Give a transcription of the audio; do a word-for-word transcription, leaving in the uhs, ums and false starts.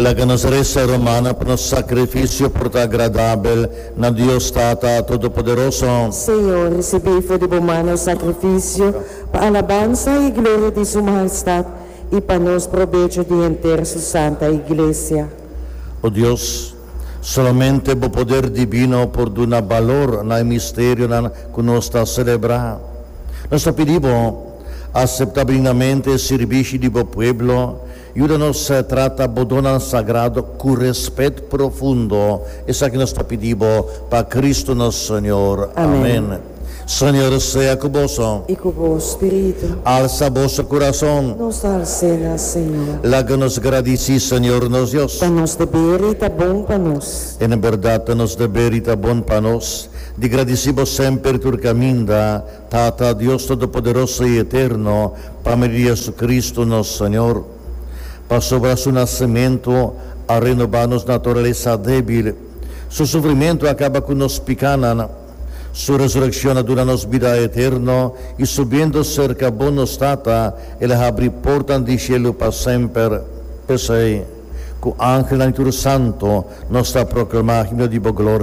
Laga nos resa, rumannan, pa nos sakrifisio por ta agradabel na Dios Tata Todopoderoso. Señor, risibí for di bo man nos sakrifisio pa alabansa i gloria di su mahestat i pa nos probecho di henter su santa Iglesia. O Dios, solamente bo poder divino por duna balor na misterionan ku nos ta selebrá. Nos ta pidi Bo, aseptá benignamente sirbishi di bo pueblo, yuda nos trata bo donnan sagrado ku rèspèt profundo. Esaki nos ta pidi Bo pa Kristu nos Señor. Amèn. Amèn. Señor sea ku boso. I ku bo spiritu. Alsa boso kurason. Nos ta hals'é na Señor. Laga nos gradisí Señor nos Dios. Ta nos deber i ta bon pa nos. En berdat, nos deber i ta bon pa nos, di gradisí Bo semper tur kaminda, Tata Dios Todopoderoso i Eterno, pa medio di Hesukristu nos Señor. Pasobra su nasementu a renobá nos naturalesa débil, su sufrimentu a kaba ku nos pikánan, su resurekshon a duna nos bida eterno i subiendo serka Bo nos Tata, el a habri portanan di shelu pa semper. P'esei, ku angelnan i tur santu, nos ta proklamá himno di bo gloria.